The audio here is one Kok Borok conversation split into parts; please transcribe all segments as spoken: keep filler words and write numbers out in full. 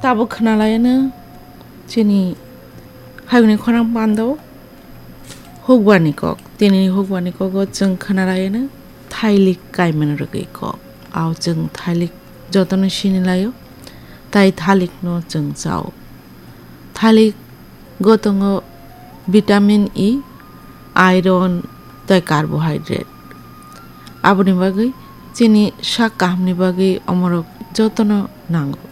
Tabuk khwnalaiyano chini hayungni khorang pando hukbani kok. Tini hukbani kogo chwng khwnalaiyano thailik kaimani rwgwi kok. Ao chwng thailik jotono sinilaio, tai thalikno chwng chao. Thalik go tongo vitamin E, iron tei carbohydrate. Aboni bagwi chini sak kahamni bagwi omorok jotono nango.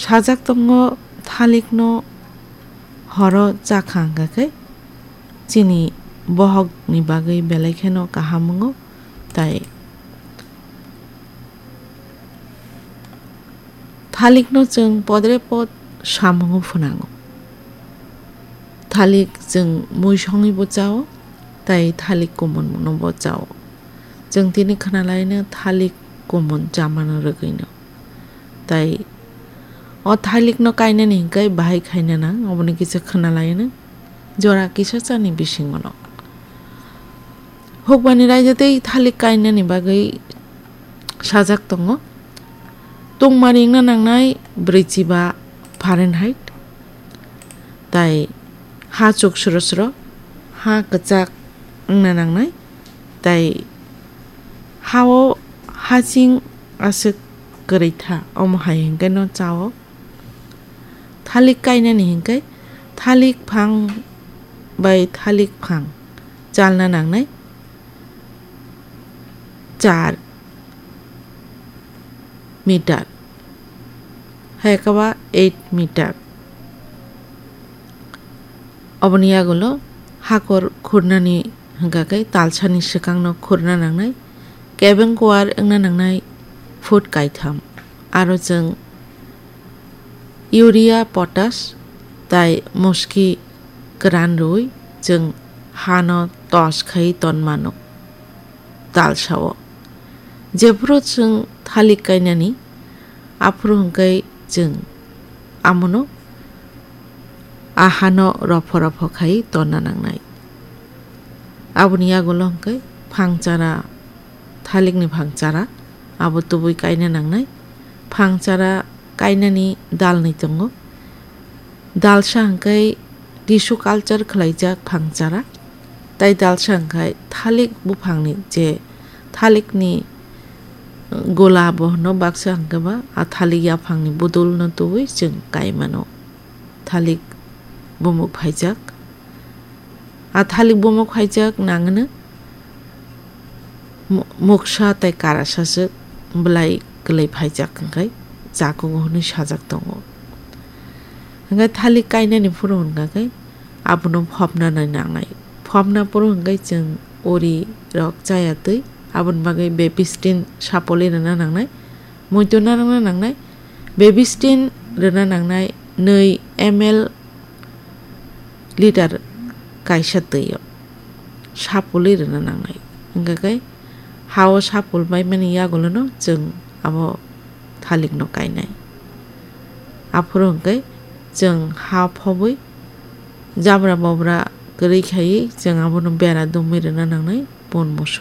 Sajak tongo thalikno horo chakha hwnkha khe chini bohokni bagwi belai kheno kaham wngo, tai thalikno chwng podre pod samungo phwnango. Thalik chwng mui songwibo chao, tai thalik kumunno bo chao. Chwng tini khwnalaino thalik kumun chamano rwgwino. Tai o thalikno kainani hwnkhe bahai khaina nang, oboni kisa khwnalaino jora kisa chani bisingono. Hukbani raida tei thalik kainani bagwi sajak tongo. Tungmari wngna nangnai brwichiba Fahrenheit, tai ha chuk sro sro, ha kwchak wngna nangnai, tai ha-o hasing aswk kwrwi tha, omo hai hwnkhe no cha-o. Thalik kainani hwnkhe thalik phang bai thalik phang chalna nangnai char meter, hai khe ba eight meter. Oboni yagulo hakor khurnani hwnkha khe talsani swkangno khurna nangnai, kebeng kuar wngna nangnai foot kaitham. Aro chwng urea, potash tai muski kwran rwui chwng hano tos khai tonmano talsao. Jephuru chwng thalik kainani, aphuru hwnkhe chwng amono a hano ropho ropho khai tonna nangnai. Aboni yagulo hwnkhe phangchara, thalikni phangchara abo tubui kaina nangnai. Phangchara kainani dalni tongo. Dalsa hwnkhe tissue culture khwlaijak phangchara, tai dalsa hwnkhe thalik buphangni je thalikni gola bo hwno baksa hwnkhe ba a thalik yaphangni budulno tubui chwng kai mano. Thalik bumuk phaijak. A thalik bumuk phaijak nangno mu-, muksa tei karasaswk bwlai kwlwi phaijak hwnkhe chakugo hwnwi sajak tongo. Hwnkhe thalik kainani phuru hwnkha khe abono phopna nai nangnai. Phopna phuru hwnkhe chwng uri rok chaya twi aboni bagwi bebistin sapoli rwna nangnai. Muitu narwkna nangnai, bebistin rwna nangnai nwi M L liter kaisa twi-o sapulwi rwna nangnai. Hwnkha khe ha-o sapul baimani yagulono chwng abo thalikno kainai. Aphuru hwnkhe chwng ha phobwi jabra bobra kwrwi khaiwi chwng abono bera dumwi rwna nangnai, pun musu.